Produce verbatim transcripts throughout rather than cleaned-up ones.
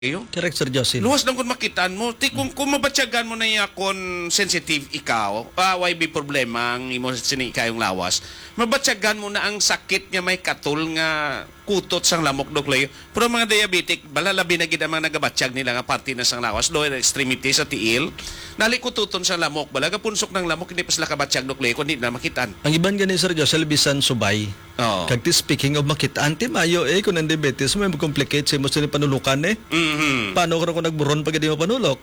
Correct, Sir Jocelyn. Luwas lang kung makitaan mo. Ti kung, kung mabatyagan mo na iya kung sensitive ikaw, ah, why be problema ang imo sini kayong lawas? Mabatyagan mo na ang sakit nga may katol nga kutot sang lamok, Doc Leo. Pero ang mga diabetic, bala labi na gid ang mga nagabatyag nila nga parte na sang lawas, lower extremity sa tiil. Nali kututon sa lamok, bala gapunsok ng lamok, hindi pa sila kabatyag, Doc Leo, kundi na makitaan. Ang iban gani, Sir Josel, bisan subay. Oo. Kag ti speaking of makit-an, ti mayo eh, kung ang diabetes mo, may mag-complicate sa imo sa panulukan eh. Mhm. Paano karon kung nagburon pa gid mo panulok?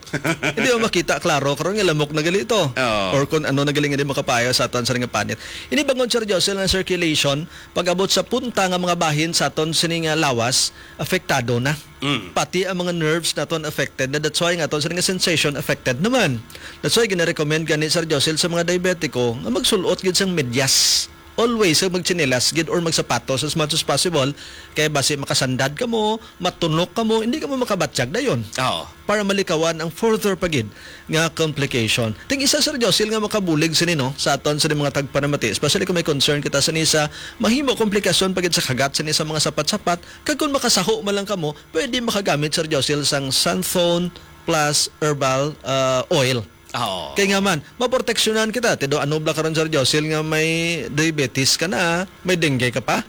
Hindi mo makita, klaro, karon nga lamok na gali ito. Oo. Or kung ano na gali nga di makapayo sa aton sa nga panit. Ini bangon, Sir Josel, ang circulation, pag-abot sa punta nga mga bahin sa aton sini nga lawas, apektado na. Mm. Pati ang mga nerves naton affected na. That's why nga aton sini nga sensation affected naman. That's why gina-recommend gani, Sir Josel, sa mga diabetiko nga magsul-ot gid sang medyas. Always, sa magtsinelas gid or magsapatos as much as possible. Kay basi makasandad ka mo, matunok ka mo, hindi ka mo makabatyag dayon. Oo. Para malikawan ang further pa gid nga complication. Ting isa, Sir Josil, nga makabulig sini, no, sa aton sa mga tagpanamati, especially kung may concern kita sini sa mahimo komplikasyon pa gid sa kagat sini sa mga sapat-sapat, kag kung makasaho man lang kamo, pwede makagamit, Sir Josil, sang Santhon Plus Herbal, ah, Oil. Oo. Kay nga man, maproteksyonan kita. Ti do, ano bala karon, Sir Josil, nga may diabetes ka na, may dengue ka pa?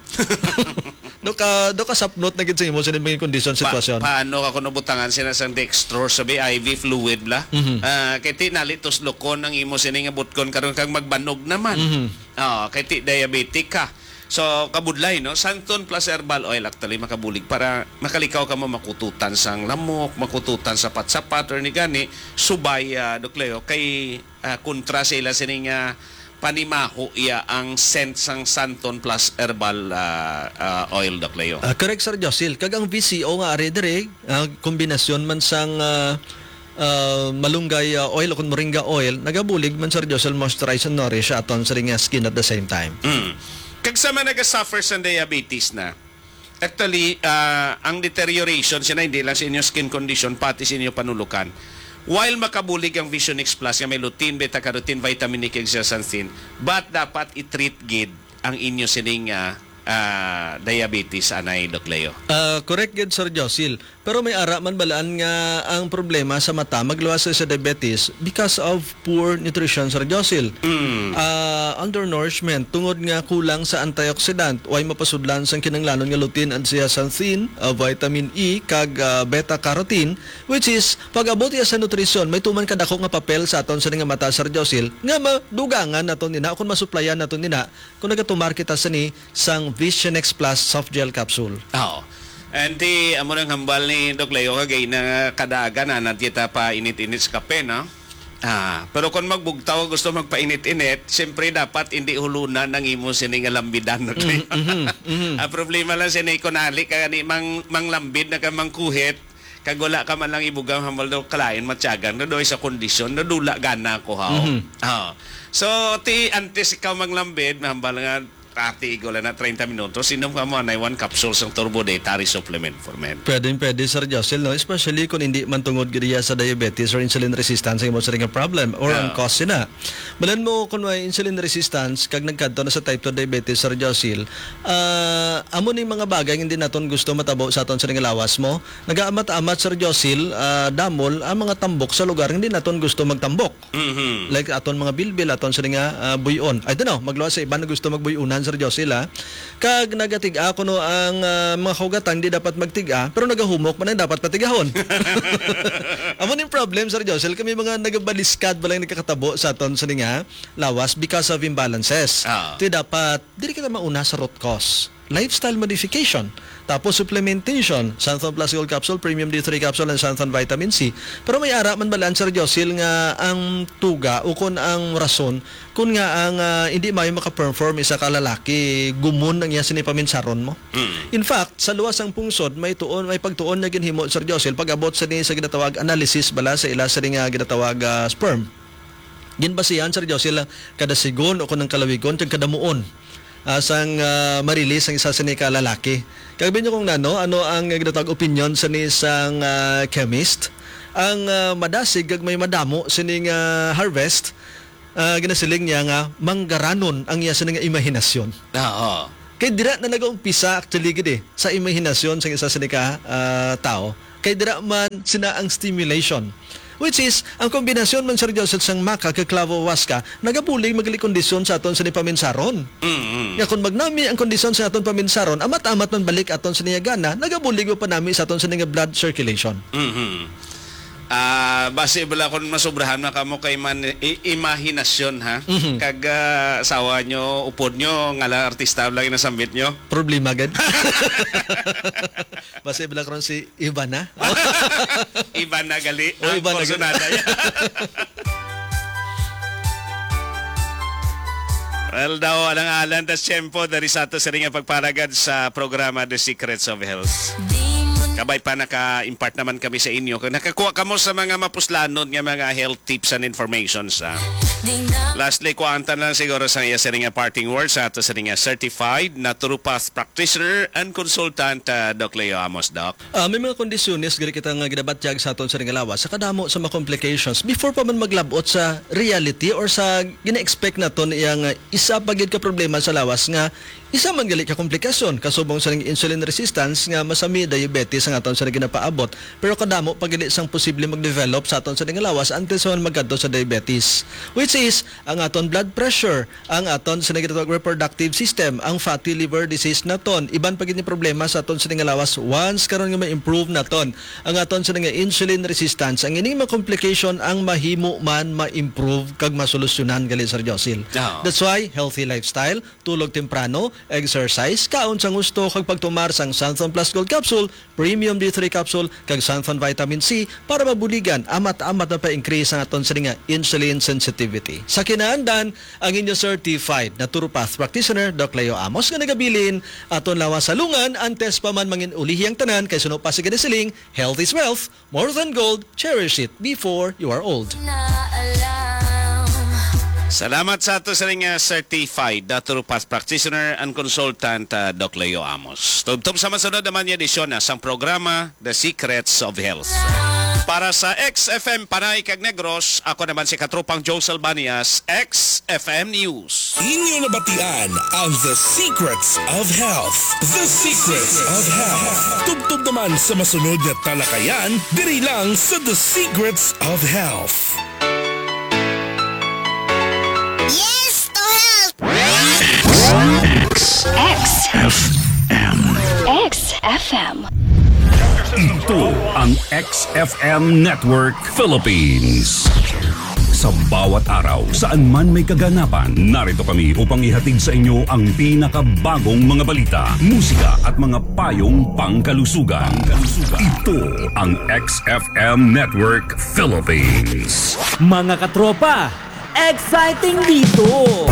Do ka, do ka sapnot na gid sa imo sa mga kondisyon, Pa-, sitwasyon. Paano ka kuno butangan sila sang dextrose, sabi, I V fluid bla? Mhm. Ah, kay ti nalitos lukon ang imo sini nga butkon karon kag magbanog naman. Mhm. Ah, kay ti diabetic ka. So, kabudlay, no? Santon plus herbal oil actually makabulig para makalikaw ka mo makututan sang lamok, makututan sa patsapat or ni gani, subay, ah, Doc Leo, kay, ah, kontra sa ila sining, ah, panimaho iya ang scent sang Santon plus herbal, ah, ah, oil, Doc Leo. Ah, correct, Sir Josil. Kag ang V C O nga ari diri, ah, kombinasyon man sang, ah, ah, malunggay, ah, oil o kun moringa oil, nagabulig man, Sir Josil, moisturize and nourish aton sa ring, ah, skin at the same time. Mm. Kag sa mga nagasuffer sa diabetes na, actually, ah, ang deterioration siya na hindi lang sa inyo skin condition, pati sa inyo panulukan. While makabulig ang Vision X Plus nga may lutein, beta carotene, vitamin E, kag zeaxanthin, but dapat i-treat gid ang inyo sining, ah, ah, diabetes, anay, Doc Leo. Ah, correct gid, Sir Josil. Pero may ara man balaan nga ang problema sa mata magluwas sa diabetes because of poor nutrition, Sir Josil. Mm. Ah, undernourishment tungod nga kulang sa antioxidant, way mapasudlan sang kinahanglanon nga lutein and zeaxanthin, ah, vitamin E, kag, ah, beta carotene, which is pag-abot iya sa nutrisyon, may tuman kadako nga papel sa aton sa nga mata, Sir Josil, nga madugangan naton nina o kung masuplayan naton nina kung nagatumar kita sini sang Vision X Plus Soft Gel Capsule. Oo. And ti, amo nang hambal ni Doc Leo, kagay na kadagan, anad kita pa init-init sa kape, no? Ah, pero kung magbugtaw, gusto magpainit-init, siyempre dapat hindi hulunan ang imo sini nga lambidan, Doc Leo. Mhm, mhm. Ang problema lang sini, kung ali ka gani mang, manglambid na ka mangkuhit, kag wala ka man lang ibugang hambal daw kalain matyagan, na daw sa kondisyon, nadula gana ko, haw. Mhm. Ah. So, ti, antes ikaw manglambid, hambal nga, ati, igo lang na treinta minutos, inom ka mo, anay one capsule sang Turbo Dietary Supplement for Men. Pwedeng pwede, Sir Josil, no? Especially kung hindi man tungod gid iya sa diabetes or insulin resistance ang imo siring nga problem or ang Ah. cause sina. Balan mo kung may insulin resistance, kag nagkadto na sa type two diabetes, Sir Josil, ah, amo ni mga bagay nga hindi naton gusto matabo sa aton siring nga lawas mo. Nagaamat-amat, Sir Josil, ah, damol ang mga tambok sa lugar nga hindi naton gusto magtambok. Mhm. Like aton mga bilbil, aton sini nga, ah, buy-on. I don't know, magluwas sa iban nga gusto magbuy-unan, Sir Josil, ah. Kag nagatig-a kuno ang, ah, mga kaugatan, di dapat magtig-a, pero nagahumok man ang dapat patigahon. Amo ning problem, Sir Josil, kami mga nagabaliskad ba lang nagkakatabo sa aton sini nga lawas because of imbalances. Ah. Ti dapat, diri kita mauna sa root cause. Lifestyle modification. Tapos supplementation, Xanthone Plus Gold Capsule, Premium D three Capsule, and Xanthone Vitamin C. Pero may ara man balaan, Sir Josil, nga ang tuga o kon ang rason kun nga ang, ah, hindi maayo maka-perform isa ka lalaki, gumon ang iya sini paminsaron mo. Mm. In fact, sa luwas sang pungsod, may tuon, may pagtuon nga ginhimo, Sir Josil, pag-abot sa ni sa ginatawag analysis bala sa ila sa ni nga ginatawag, ah, sperm. Ginbasihan, Sir Josil, ang kadasigon o kung ang kalawigon kag kadamuon, ah, sang, ah, marilis ang isa sini ka lalaki. Kag binyo kung nano, ano ang ginatawag opinion sa ni sang, ah, chemist? Ang, ah, madasig kag may madamo sining, ah, harvest, ah, ginasiling niya nga manggaranon ang iya sini nga imahinasyon. Ah, oo. Kay dira na nagaumpisa actually gid eh, sa imahinasyon sang isa sini ka, ah, tao. Kay dira man sina ang stimulation. Which is, ang kombinasyon man, Sir Joseph, sang maca kag clavo huasca, nagabulig man gali kondisyon sa aton sini paminsaron. Mm-mm. Nga kung magnami ang kondisyon sa aton paminsaron, amat-amat man balik aton sini nga gana, nagabulig man panami sa aton sini nga blood circulation. Mm-hmm. Ah, basi bala kung masubrahan na kamo kay man i-, imahinasyon, ha? Mhm. Kag, ah, asawa nyo, upod nyo, nga lang artista lang yung nasambit nyo. Problema gid. Basi bala karon si Ivana. Ivana gali. Oh, ang Ivana gali. Personada niya. Well, daw, alang-alang tas tiyempo dari sa ato sa ring pagparagad sa programa The Secrets of Health. Kabay pa naka-impart naman kami sa inyo. Kung nakakuha kamo sa mga mapuslanon nga mga health tips and informations, ah. Lastly, kuantan lang siguro sa iya sa ring parting words sa ato sa ring certified naturopath practitioner and consultant, ah, Doc Leo Amos, Doc. Ah, may mga kondisyones gani kita nga ginabatyag sa aton sa ring lawas sa kadamo sa mga complications before pa man maglabot sa reality or sa gina-expect naton iya nga isa pa gid ka problema sa lawas nga isa man gali ka komplikasyon kasubong sa ring insulin resistance nga masami diabetes ang aton sa ring ginapaabot, pero kadamo pa gid sang posible mag-develop sa aton sa ring lawas until sa man magkadto sa diabetes, which is ang aton blood pressure, ang aton sa ginatawag reproductive system, ang fatty liver disease naton. Iban pa gid ni problema sa aton sa ning lawas once karon nga ma-improve naton ang aton sa nga insulin resistance. Ang ining mga complication ang mahimo man ma-improve kag masolusyonan gali, Sir Josil. Oo. That's why healthy lifestyle, tulog temprano, exercise, kaon sang husto, kag pagtumar sang Santon Plus Gold Capsule, Premium D three Capsule, kag Santon Vitamin C para mabuligan, amat-amat na pa-increase ang aton sini nga insulin sensitivity. Sa kinaandan, ang inyo certified naturopath practitioner, Doc Leo Amos, nga nagabilin, aton lawas sa lungan, antes pa man mangin-ulihi ang tanan, kay suno pa sa ginasiling, health is wealth, more than gold, cherish it before you are old. Salamat sa ato sa ring, ah, certified naturopath practitioner and consultant, ah, Doc Leo Amos. Tubtob sa masunod naman nga edisyon na sang programa The Secrets of Health. Para sa X F M Panay kag Negros, ako naman si Katropang Josel Banias, X F M News. Inyo nabatian ang The Secrets of Health. The Secrets of Health. Tubtob naman sa masunod nga talakayan diri lang sa The Secrets of Health. Yes to health! X. X F M. X F M. Ito ang X F M Network Philippines. Sa bawat araw, saan man may kaganapan, narito kami upang ihatid sa inyo ang pinakabagong mga balita, musika at mga payong pangkalusugan. Ito ang X F M Network Philippines. Mga katropa, exciting dito!